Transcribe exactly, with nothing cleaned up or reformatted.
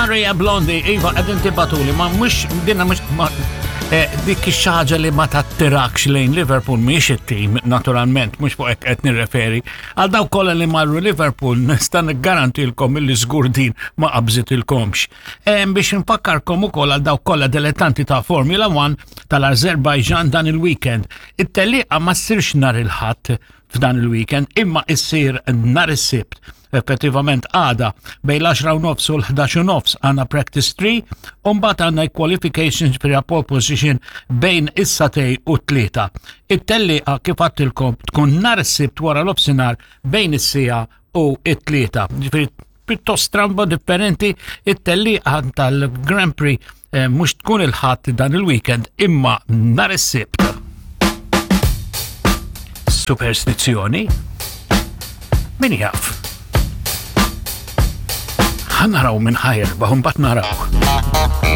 Maria Blondi, iva, qegħdin tibagħtuli, ma mhux, dinna mhux, ma, eh, dik xi ħaġa li ma tattirakx lejn Liverpool mhix it-tim, naturalment, mhux fuq hekk qed nirreferi. Għal dawk kollha li marru Liverpool nista' niggarantilkom illi żgur din ma qabżitilkomx. Eh, biex nfakkarkom ukoll għal dawk kollha dilettanti ta' Formula One tal-Azerbaijan dan il-weekend. It-tellieqa ma ssirx nhar il-Ħadd f'dan il-weekend, imma issir nhar is-Sibt. Effettivament għada bejn l-għaxra u nofs u l-ħdax u nofs għandna practice three, u mbagħad għandna qualifications per pole position bejn is-sagħtejn u t-tlieta. It-tellieqa, kif għedtilkom, tkun nhar is-Sibt wara l-nofsinhar bejn is-siegħa u it-tlieta. Ġifieri pjuttost stramba, differenti, it-tellieqa tal-Grand Prix eh, mhux tkun il-Ħadd dan il-weekend imma nhar is-Sibt. Superstizzjoni? Min jaf? Ħa naraw min ħa jirbaħ, mbagħad naraw.